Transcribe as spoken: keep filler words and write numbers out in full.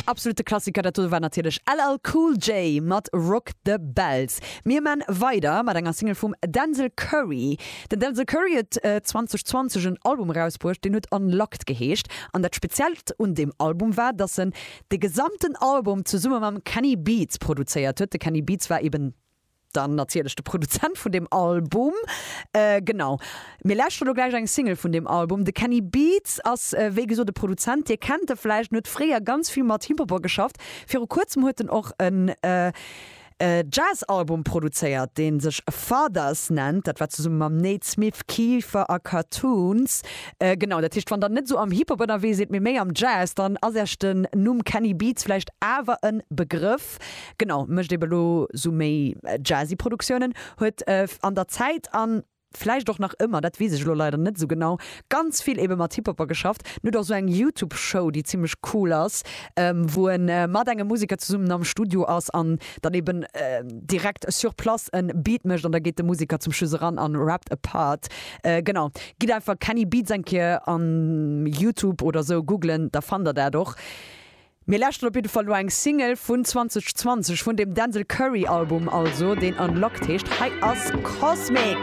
Absolute Klassiker, dat do war natierlech L L Cool J mat Rock the Bells. Mir man weider mat enger Single vum Denzel Curry. Den Denzel Curry huet zweitausendzwanzeg en Album erausbruecht, deen huet Unlocked geheescht. An dat Speziellt un deem Album war, dass en de gesamten Album zesumme mam Kenny Beats produzéiert huet. De Kenny Beats war eben dann natierlech de Produzent vun deem Album. Äh, genau. Mir lauschteren elo gläich eng Single vun deem Album. De Kenny Beats ass äh, wéi gesot de Produzent, Dir kennt e vläicht, huet fréier ganz vill mat Hip-Hopper geschafft. Viru kuerzem huet en och en äh, äh, Jazz-Album produzéiert, dee sech Fathers nennt. Dat war zesumme mam Nate Smith, Kiefer a Cartoons. Äh, genau, dat heescht, wann der net sou am Hip-Hop ënnerwee sidd, mee méi am Jazz, dann ass iech den Numm Kenny Beats vläicht awer e Begrëff. Genau, mécht ebe lo sou méi jazzy Produktiounen, huet äh, an der Zäit an vläicht och nach ëmmer, dat weess ech lo leider net sou genau, ganz vill ebe mat Hip-Hopper geschafft. Huet och sou eng YouTube-Show, déi zimmlech cool ass, ähm, wou en äh, mat engem Museker zesummen am Studio ass an dann eben äh, direkt sur place en Beat mécht an da geet de Museker zum Schluss eran an rappt e Part. Äh, genau. Gitt einfach Kenny Beats eng Kéier an YouTube oder sou googlen, da fannt der dat och. Mir lauschteren op jidde Fall lo eng Single vun zweitausendzwanzeg vun dem Denzel Curry Album, also deen Unlocked heescht. Hei ass Cosmic.